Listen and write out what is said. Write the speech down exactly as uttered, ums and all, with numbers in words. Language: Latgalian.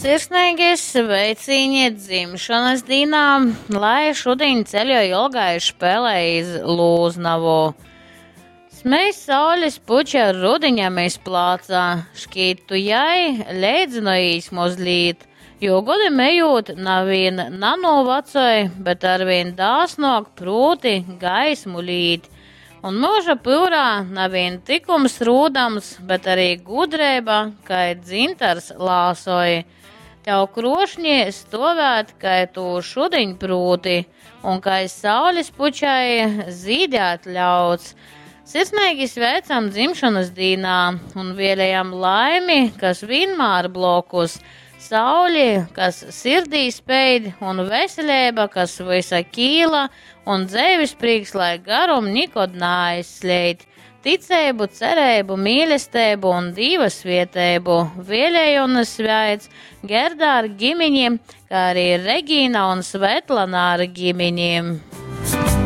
Sirsneigi sveicīņi dzimšonys dīnā, lai šudiņ ceļoj ilgai špelē iz Lūznovu. Smej saulis puče rudiņam iz placa, škīt tu jai leidzynojīs mozlīt, jo godim ejūt na vīn nanūvacoj, bet arvīn dāsnuok prūti gaismu līt. Un myuža pyurā na vīn tykums rūdams, bet arī gudreiba, kai dzintars lāsoj. Tev kruošņi stuovēt, kai tu šudiņ prūti, un kai saulis pučai zīdēt ļauts. Sirsneigi sveicam dzimšonys dīnā un vielejam laimi, kas vīnmār blokus, sauli, kas sirdī speid, un veseleiba, kas vysa kīla, un dzeivis prīks, lai garum nikod naaizsleid. Ticeibu, cereibu, mīlesteibu un Dīva svieteibu vielej un sveic Gerda ar gimini, kā arī Regīna un Svetlana ar gimini.